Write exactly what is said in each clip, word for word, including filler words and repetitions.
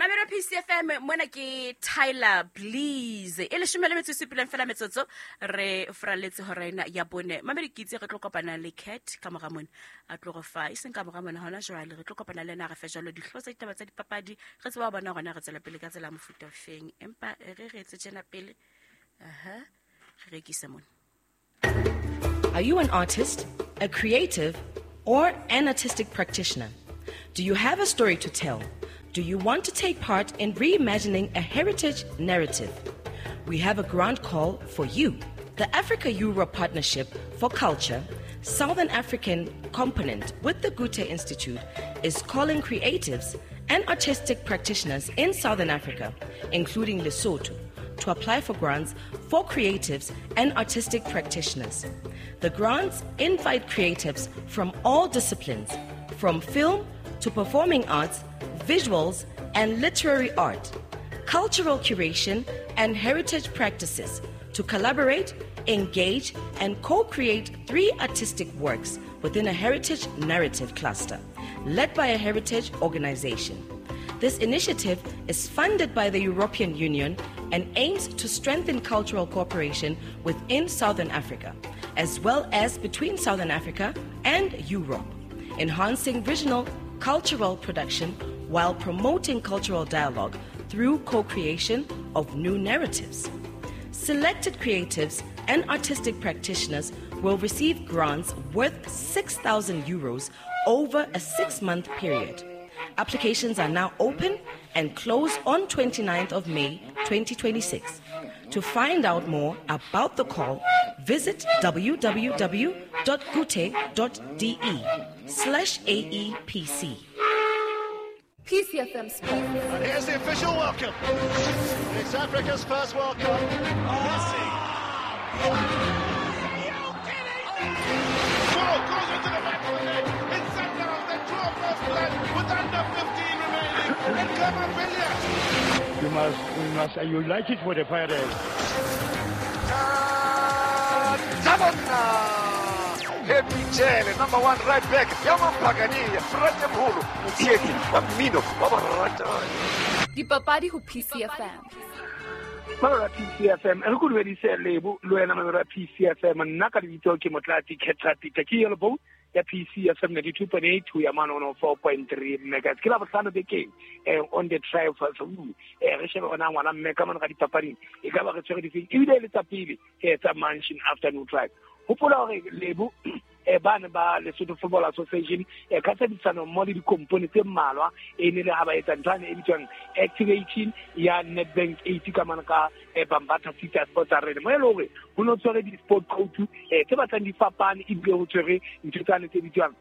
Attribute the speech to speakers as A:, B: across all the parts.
A: Mamelo P C F M mona ke Tyler Please. E leshome le metso e supileng fela metsotso re fraletse hora ena ya bone. Mamelo ke itse re tlo kopana le Cat ka mora mona. A tlo go fa e seng ka mora mona hona jwale re tlo kopana le ena re fe jwalo dihlo tsa ditaba tsa dipapadi re tseba bona gona re tswela pele ka tsela mofuta feng. Empa re re etse tjena pele. Aha. Re rekise mona.
B: Are you an artist, a creative, or an artistic practitioner? Do you have a story to tell? Do you want to take part in reimagining a heritage narrative? We have a grant call for you. The Africa-Europe Partnership for Culture, Southern African component with the Goethe Institute, is calling creatives and artistic practitioners in Southern Africa, including Lesotho, to apply for grants for creatives and artistic practitioners. The grants invite creatives from all disciplines, from film to performing arts, visuals and literary art, cultural curation and heritage practices to collaborate, engage and co-create three artistic works within a heritage narrative cluster led by a heritage organization. This initiative is funded by the European Union and aims to strengthen cultural cooperation within Southern Africa, as well as between Southern Africa and Europe, enhancing regional cultural production while promoting cultural dialogue through co-creation of new narratives. Selected creatives and artistic practitioners will receive grants worth six thousand euros over a six-month period. Applications are now open and close on twenty-ninth of May twenty twenty-six. To find out more about the call, visit www.goethe.de slash A E P C.
C: P C F M Sports.
D: And here's the official welcome. It's Africa's first World Cup. Messi. Are you kidding me? Ball goes into the back of the net. It's Sundowns that draw first blood with under fifteen remaining. And Kamapilia.
E: You must, you must, you like it for the Pirates.
F: Happy number one right back, Yaman Pagani, Frate Mholo, Mothietsi, wa mmino, wa barata.
C: Dipapadi ho P C F M.
G: Mamelo P C F M, re go dumedise Lebo le wena mamelo P C F M, nna ka lebitso ke Motlatsi Khetha Peter, ke yellow boat ya P C F M ninety-two point eight ho ya mane one oh four point three megahertz. Ke la bohlano bekeng eh on the drive for eh re shebe ona ngwana mme ka mona ka dipapading e ka ba re tshwere difeng ebile le tsa pele eh tsa Mansion Afternoon Drive. Hopola hore Lebo eh bana ba Lesotho Football Association eh ka tshebedisano mmoho le dikompone tse mmalwa e ne le ha ba etsa nthwane e bitswang activating ya Nedbank eighty ka mane ka eh Bambatha City Sports Arena mo e le hore ho no tshwere di-sport coach eh tse batlang di fapane ebile ho tshwere ntho tsane tse bitswang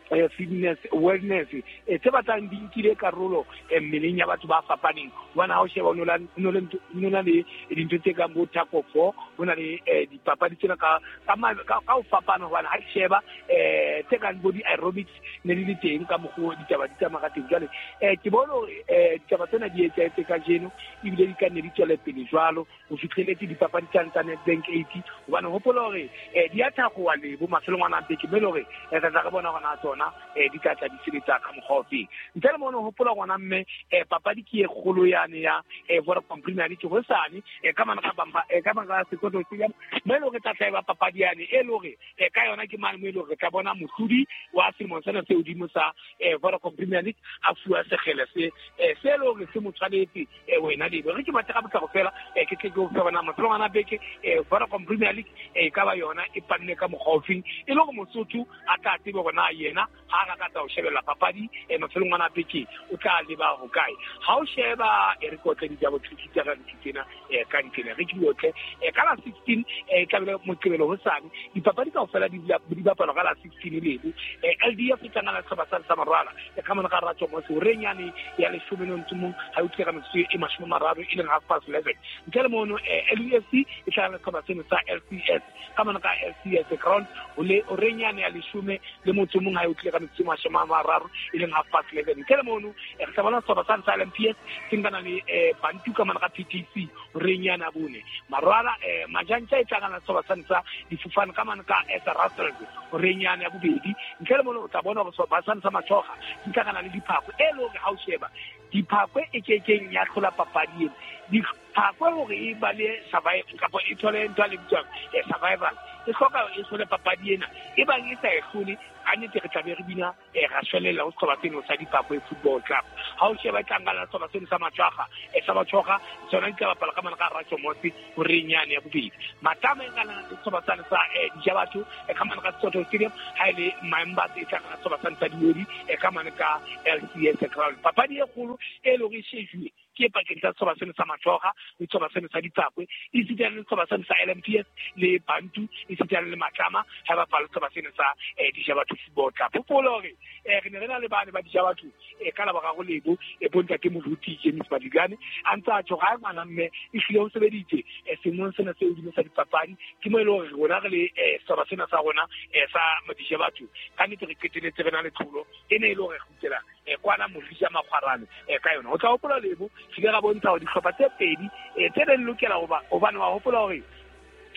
G: eh fitness wellness eh tse batlang di nkile karolo mmeleng ya batho ba fapaneng. Bona ha o sheba o no na le dintho tse kang bo tug of war, ho na le dipapadi tsena ka ka ka ho fapana hobane ha ke sheba eh tse kang bo di-aerobics ne di le teng ka mokgwa ditaba di tsamaya ka teng. Jwale eh ke bone hore eh ditaba tsena di etsahetse kajeno ebile di ka nne di tswele pele jwalo ho fihleletse dipapadi tsane tsa Nedbank eighty hobane hopola hore eh di a thakgowa Lebo mafelong ana a beke mme le hore re tla re bona hore na tsona eh di tla tla di sebetsa ka mokgwa ofe. Ntle le mono hopola ngwana mme eh papadi ke e kgolo yane ya eh Vodacom Premier League hosane eh ka mana ka bamba eh ka mana ka sekolo se ya mme le hore tla tla ba papadi yane e le hore eh ka yona ke mane mo e le hore re tla bona mohlodi wa selemo sena se hodimo sa eh Vodacom Premier League a fuwa sekgele se eh se le hore se mo tshwanetse eh wena Lebo. Re ke batla ka potlako fela eh ke tle ke o fe bona mafelong ana beke eh Vodacom Premier League eh ka ba yona e panne ka mokgwa ofeng e le hore Mosotho a tla tsebe hore na yena ha a rata ho shebella papadi e mafelong ana beke o tla leba ho kae. Ha o sheba e re kotle ditaba tsa ka tsena eh ka ntlena re ke diotle eh ka la sixteen eh tla be Moqebelo hosane dipapadi kaofela di di bapalwa ka la sixteen Lebo. Eh L D F e tlangana le sehlopha sa Marwala e ka mona ka ratso mo se renyane ya leshome le motso mong ha o tleka metsotso e mashome a mararo e leng half past eleven. Ntle le mono L U F C e tlangana le sehlopha seno sa L C S ka mona ka L C S ground o le renyane ya leshome le motso mong ha o tleka metsotso e mashome a mararo e leng half past eleven. Ntle le mono re tla bona sehlopha sa L M P S se nkana le Bantu ka mona ka P T C renyana bone Marwala eh Majantja e tlangana le sehlopha sa difofane ka mona ka S Russell renyana ya bobedi. Ntle le mono o tla bona hore sehlopha sa Mathoga se tlangana le Diphako e le hore ha o sheba Diphakwe e kekeng ya hlola papadi ena. Diphakwe hore e ba le survive kapa e thole ntho e bitswang survival, e hloka e hlole papadi ena. E bang e sa e hlole, ka nnete re tlabe re bina ra shwelella ho sehlopha seno sa Diphakwe Football Club. Ha o sheba e tla nkana sehlopha seno sa Matshwaga, sa Batshwaga sona di tla bapala ka mane ka Ratjomose horeng yane ya bobedi. Matlama e nkana le sehlopha sane sa Dijabatho ka mane ka Sesotho Stadium, ha e le Maembatse e tla nkana sehlopha sane sa Diodi ka mane ka L C S Ground. Papadi e kgolo e leng hore e shejuwe ke pakeng tsa sehlopha seno sa Matshwaga le sehlopha seno sa Diphakwe, esita le sehlopha seno sa L M P S le Bantu, esita le Matlama ha ba bapala sehlopha seno sa Dijabatho Football Club. Hopola hore re ne re na le bane ba Dijabatho ka laboraro lebo e bontate Moruti James Madikane a ntse a tjho ha ngwana mme e hlile ho sebeditse seemong sena se hodimo sa dipapadi. Ke mo e leng hore rona re le sehlopha sena sa rona sa Dijabatho ka nnete re qeteletse re na le tlholo e ne e le hore re kgutlela kwana Morija Makgwarane ka yona. O tla hopola lebo re ile ra bontsha hore dihlopha tse pedi tse neng lokela hoba hobane wa hopola hore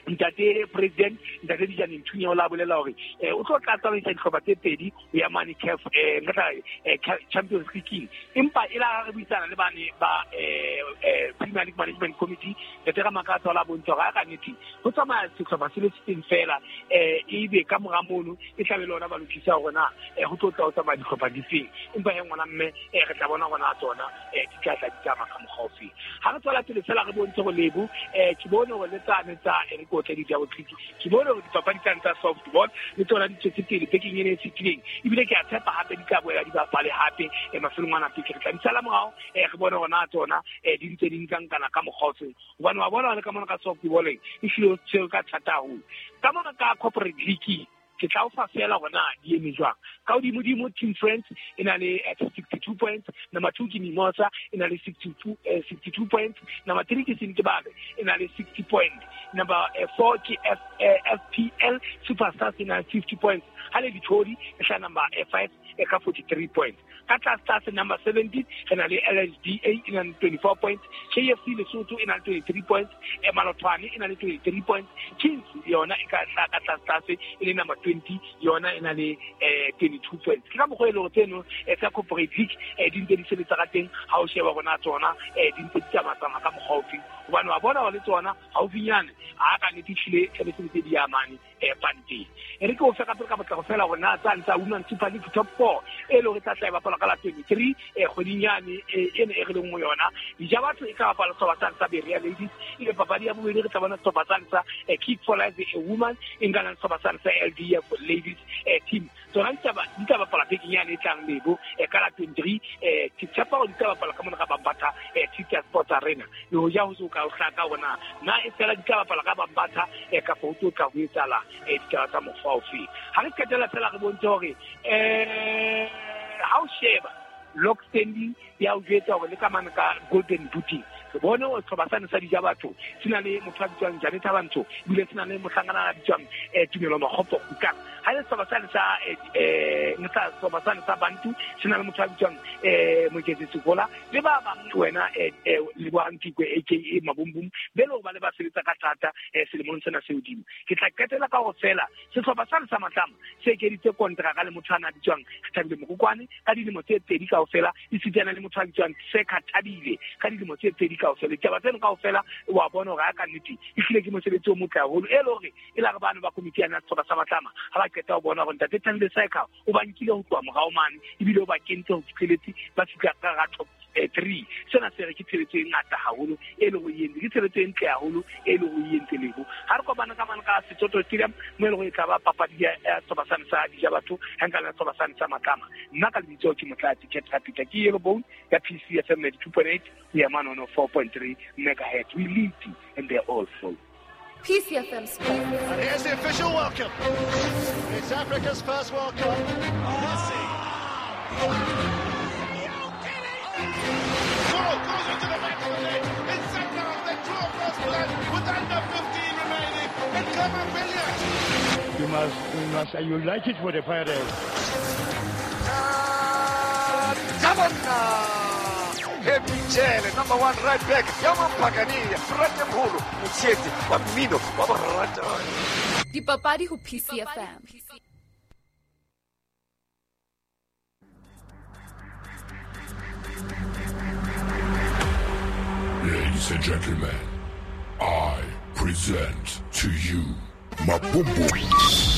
G: ntate president ntate Dijane Nthunya o la bolela hore o tlo tla tsamaisa dihlopha tse pedi ho ya mane C A F nka Champions League, empa e la re buisana le bane ba Premier League Management Committee ntate Ramakatsa o la bontsha hore ka nnete ho tsamaya sehlopha se le seng fela ebe ka mora mono e tla be le ona ba lokisa hore na ho tlo tla ho tsamaya dihlopha difeng, empa he ngwana mme re tla bona hore na tsona di tla tla di tsamaya ka mokgwa ofe. Ha re tswela pele fela re bontshe hore lebo ke bone hore le tsane tsa ke bone hore dipapadi tsane tsa softball le tsona di tswetse pele bekeng ena e fetileng, ebile ke a tshepa hape di tla boela di bapale hape mafelong ana pele. Re tla di sala morao re bone hore na tsona di ntse di nkankana ka mokgwa ofeng, hobane wa bona le ka mona ka softballeng e hlile o tshwere ka thata haholo. Ka mona ka corporate league ke tla o fa fela hore na di eme jwang. Ka hodimodimo Team Friends e na le sixty-two points, number two ke Mimosa e na le sixty-two, sixty-two points, number three ke Sentebabe e na le sixty points, number four ke F, F P L Superstars e na le fifty points, ha le Dithodi e hla number five e ka forty-three points. Ka tlase tlase number seventeen re na le L H D A e na le twenty-four points, K F C Lesotho e na le twenty-three points, Malothwane e na le twenty-three points, Kings yona e ka hla ka tlase tlase e le number twenty yona e na le twenty-two points. Ke ka mokgwa e leng hore tseno tsa corporate league di ntse di sebetsa ka teng ha o sheba rona tsona di ntse di tsamaya ka mokgwa ofeng, hobane wa bona hore le tsona haufinyane ha ka nnete ehlile tlabe se ntse di ya mane panteng. E re ke o fe ka pele ka potlako fela hore na tsane tsa Women Super League Top four e leng hore tla tla e bapala ka la twenty-three kgweding yane ena e re leng ho yona. Dijabatho e tla bapala sehlopha sane sa Berea Ladies, ebe papadi ya bobedi re tla bona sehlopha sane sa Kick for Life a Woman e nkana le sehlopha sane sa L D F Ladies team. Tsona di tla bapala bekeng yane e tlang lebo ka la twenty-three. Ke tshepa hore di tla bapala ka mona ka Bambatha Tita Sports Arena, le hoja ho so ka o hlaka hore na na e fela di tla bapala ka Bambatha kapa ho tlo tla ho etsahala ditaba tsa mokgwa ofe. Ha re qetela fela re bontshe hore ha o sheba log standing ya o jwetsa hore le ka mane ka Golden Booty re bone hore sehlopha sane sa Dijabatho se na le motho a bitswang Janet Thabantsho, ebile se na le mohlankana a bitswang Tumelo Makgopo Kutlang. Ha le sehlopha sane sa sehlopha sane sa Bantu se na le motho a bitswang Moketse Sekola le ba bang wena Lebohang Tikwe A K A Mabumbum, be le hore ba le ba sebetsa ka thata selemong sena se hodimo. Ke tla qetela ka hore fela sehlopha sane sa Matlama se ekeditse kontraka le motho ana a bitswang Thabile Mokokwane ka dilemo tse pedi kaofela, esitana le motho a bitswang Seka Thabile ka dilemo tse pedi kaofela. Ditaba tseno kaofela wa bona hore ha ka nnete ehlile ke mosebetsi o motle haholo, e le hore e la re bano ba komiti yana sehlopha sa Matlama ha ba qeta ho bona hore ntate Thabile Seka o ba nkile ho tloha morao mane ebile o ba kentse ho fihleletse ba fihla ka hara top three. Sena se re ke tshebetso e ngata haholo e leng hore e entse, ke tshebetso e ntle haholo e leng hore e entse lebo. Ha re kopana ka mane ka Sesotho Stadium mo e leng hore e tla ba papadi ya sehlopha sane sa Dijabatho ha nka le sehlopha sane sa Matlama. Nna ka lebitso ke Motlatsi Cat Rapita, ke Yellow Bone ya P C F M ninety-two point eight ho ya mane ho four point three megahertz. We lead and they're all full.
C: P C F M Sports.
D: And here's the official welcome. It's Africa's first World Cup. Messi. Goal goes into the back of the net. It's Sundowns that draw first blood with under fifteen remaining. And Khama Billiat.
E: You must, you must, you like it for the Pirates.
F: Happy Jele, number one right back. Yamampagania, Bratemholo, Motsietsi, wa mmino, wa borata.
C: Dipapadi ho P C F M.
H: Ladies and gentlemen, I present to you Mabumbu.